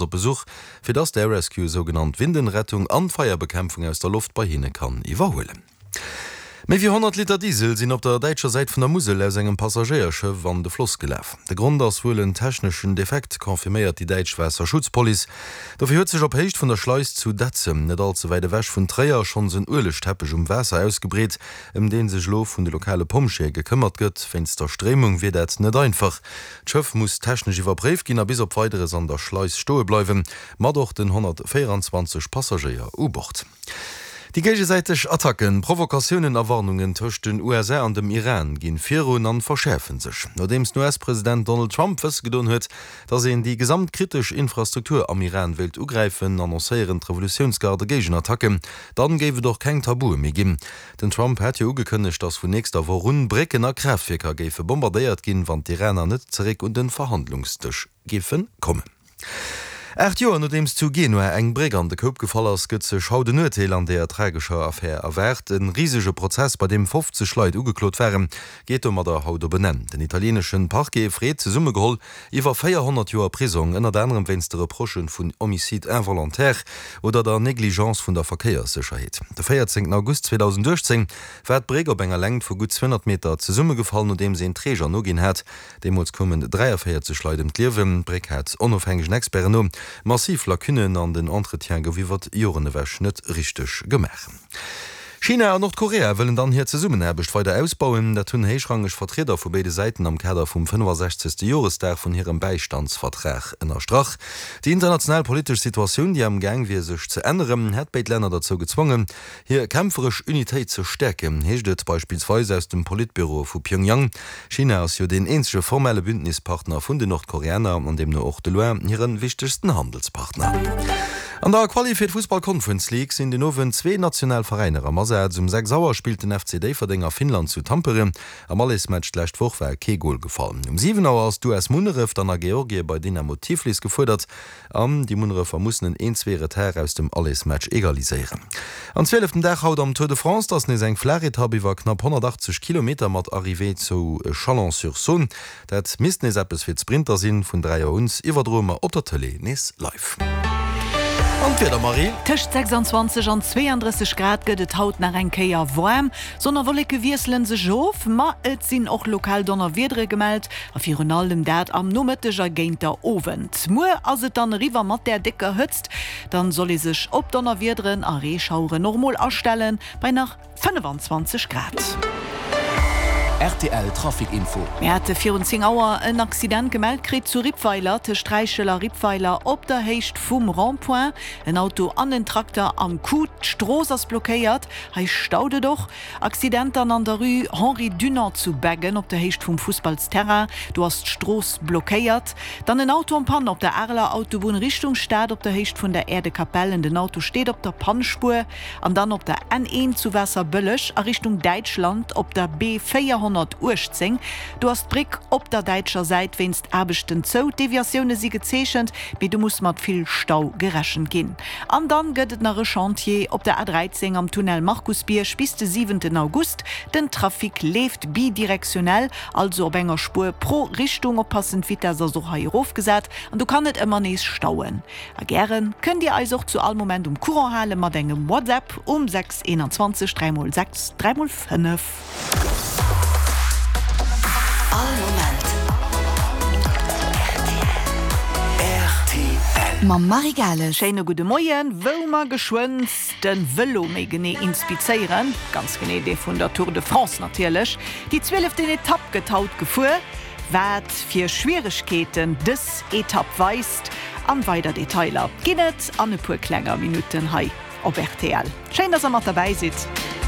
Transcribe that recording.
Op Besuch, fir dass d'Air Rescue sougenannt Windenrettung an d'Feierbekämpfung aus der Loft bei hinne kann iwwerhuelen. Méi wéi 100 Liter Diesel sinn op der däitscher Säit vun der Musel aus engem Passagéierschëff an de Floss gelaf. De Grond ass wuel en techneschen Defekt, confirméiert déi däitsch Waasserschutzpolice. Dofir huet sech op Héicht vun der Schleis zu Detzem, net all ze wäit ewech vun Tréier, schonns en Uelegteppech um Waasser ausgebreet, ëm dee sech elo vun de lokale Pompjeeë gekëmmert gëtt. Wéinst der Stréimung wier dat net einfach. D'Schëff muss technesch iwwerpréift ginn a bis op Weideres an der Schleis stoe bleiwen, mat och den 124 Passagéier u Bord. Déi géigesäiteg Attacken, Provokatiounen a Warnungen tëscht den USA an dem Iran ginn virun an verschäerfe sech. Nodeems den US-President Donald Trump wësse gedoen huet, datt een déi gesamt kritesch Infrastruktur am Iran wéilt ugräifen, annoncéieren d'Revolutiounsgarde Géigenattacken. Dann géif et och keng Tabue méi ginn. Den Trump hat jo ugekënnegt, datt vun nächster Woch un Brécken a Kraaftwierker géife bombardéiert ginn, wann d'Iraner net zeréck un de Verhandlungsdësch géife kommen. 8 Joer nodeems zu Genua eng Bréck an de Koup gefall ass, gëtt sech haut en Urteel an deeër tragescher Affär erwaart. E risege Prozess, bei deem 50 Leit ugeklot waren, geet domadder haut op en Enn. Den italieenesche Parquet freet zesummegeholl Iwwer 400 Joer Prisong, ënnert anerem wéinst de Reprochë vun Homicide involontaire oder der Negligence vun der Verkéierssécherheet. De 14 August 2018 war d'Bréck op enger Längt vu gutt 200 Meter zesummegefall, nodeems een Träger noginn hat. Deemools koumen 43 Leit ëm d'Liewen. D'Bréck hat onofhängegen Experten no massiv Lacunnen an den Entretien gouf iwwer Joren ewech net richteg gemaach. China an Nordkorea wëllen dann hir Zesummenaarbecht weider ausbauen. Dat hunn héichrangeg Vertrieder vu béide Säiten am Kader vum 65. Joresdag vun hirem Bäistandsvertrag ënnerstrach. Déi international politesch Situatioun, déi am Gaang wier sech ze änneren, hätt béid Länner derzou gezwongen, hir kämpferesch Unitéit ze stäerken, heescht et beispillsweis aus dem Politbüro vu Pyongyang. China ass jo deen eenzege formelle Bündnispartner vun den Nordkoreaner an deemno och de loin hire wichtegsten Handelspartner. An der Quali fir d'Fussball Conference League sinn den Owend zwee national Veräiner am Asaz. Um 6 Auer spillt den FC Déifferdeng a Finnland zu Tampere. Am Allesmatch d'lescht Woch war kee Gol gefall. Um 7 Auer ass d'US Munneref dann a Georgie bei Dynamo Tiflis gefuerdert. An déi Munnerefer mussen en een-zwee Retard aus dem Allesmatch egaliséieren. An zwieleften Dag haut am Tour de France, 't ass nees eng flaach Etapp iwwer knapp 180 Kilometer mat Arrivée zu Chalon-sur-Saône. Dat misst nees eppes fir d'Sprinter sinn. Vun 3 Auer un iwwerdroe mer op der Tëlee nees live. An d'Wieder, Marie? Tëscht 26 an 32 Grad gëtt et haut nach eng Kéier waarm. Sonn a Wolleke wiessele sech of, ma et sinn och lokal Donnerwiedere gemellt a virun allem dat am Nomëtteg a géint der Owend. Muer ass et dann eriwwer mat där décker Hëtzt, dann soll ee sech op Donnerwiederen a Reeschaueren och mol astellen, bei nach 25 Grad. Rtl Trafic Info. Mir hate virun 10 Auer en Accident gemellt kritt zu Rippweiler, tëscht Räichel a Rippweiler op der Héicht vum Rond-point. En Auto an en Trakter am Coup. D'Strooss ass blockéiert. Hei staut et och. Accident dann an der Rue Henri Dunant zu Beggen op der Héicht vum Fussballsterrain. Do ass d'Strooss blockéiert. Dann en Auto en panne op der Areler Autobunn Richtung Stad op der Héicht vun der Äerdekapell. Den Auto steet op der Pannespuer. An dann op der N1 zu Waasserbëlleg a Richtung Däitschland op der B 418. Do ass d'Bréck op der däitscher Säit wéinst Aarbechten zou. D'Deviatioune si gezeechent, mee do muss mat vill Stau gerechent ginn. An dann gëtt et nach e Chantier op der A13 am Tunnel Markusbierg bis de siwenten August. Den Trafic leeft bidirektionell, also op enger Spuer pro Richtung. Oppassen, d'Vitess ass och hei erofgesat an do kann et ëmmer nees stauen. A gären kënnt Dir eis och zu all Moment um Courant hale mat engem WhatsApp um 6 21 3 x 6 3 x 5. All Moment rtl. Mam Marie Gales. Schéine gudde Moien. Wou mer geschwënn de Vëlo méi genee inspizéieren, ganz genee dee vun der Tour de France natierlech. Déi zwieleften Etapp gëtt haut gefuer. Wat fir Schwieregkeeten dës Etapp weist an weider Detailer ginn et an e puer klenger Minutten hei op rtl. Schéin dass der mat derbäi sidd.